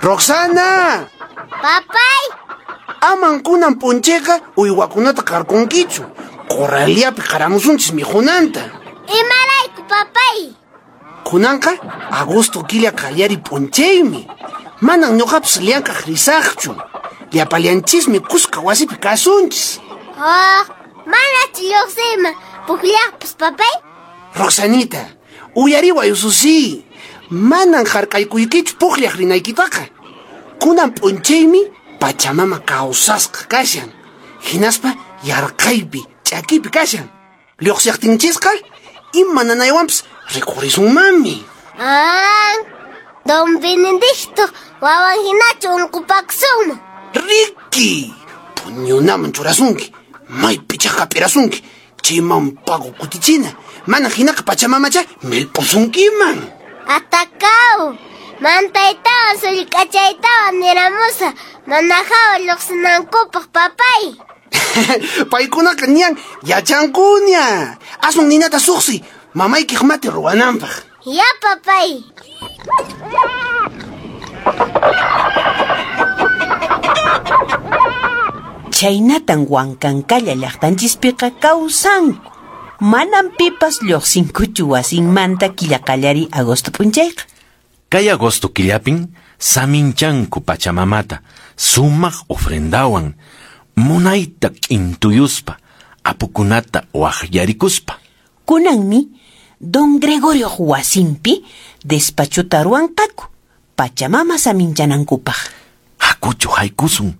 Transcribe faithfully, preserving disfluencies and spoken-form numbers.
Roxana! Papay! Aman kunan p'unchayqa uywakunata qarqunkichu. Corraliapi qaramusunchis mikhunanta. Imarayku, papay? Kunanqa agosto killa qallari p'unchaymi. Manan ñuqapas llank'aq risaqchu. Llapallanchismi kuska wasipi kasunchis. Oh, manachu lluqsiyman pukllaqpas, papay? Roxanita, uyariway ususi. Manan hark'aykuykichu pukllaq rinaykitaqa. Kunan p'unchaymi Pachamama kawsasqa kashan. Hinaspa yarqaypi, ch'akipi kashan. Lluqsiqtinchisqa ima nanaywanpas rikhurisunmanmi. Ah, Don Benedicto wawan hinachu unqupakusunman. Riki, puñunaman churasunki, maypichá hap'irasunki, chayman pago kutichina, mana hinaqa Pachamamacha millp'usunkiman. Atakaw, mantaytawan sullk'achaytawan niramusa, mana hawa lluqsinankupaq, papay. Paykunaqa ñan yachankuña. Aswan ninata suqsi, mamaykiq mati ruwananpaq. Ya, papay. Chhaynatan Huancancalla llaqtanchispiqa kawsanku. Manam pipas lluqsinkuchu wasinmanta killa qallari agosto p'unchayqa. Kay agosto killapin saminchanku Pachamamata sumaq ofrendawan munayta k'intuyuspa apukunata waqyarikuspa. Kunanmi Don Gregorio wasinpi despachota ruwanqaku Pachamama saminchanankupaq. Hakuchu haykusun.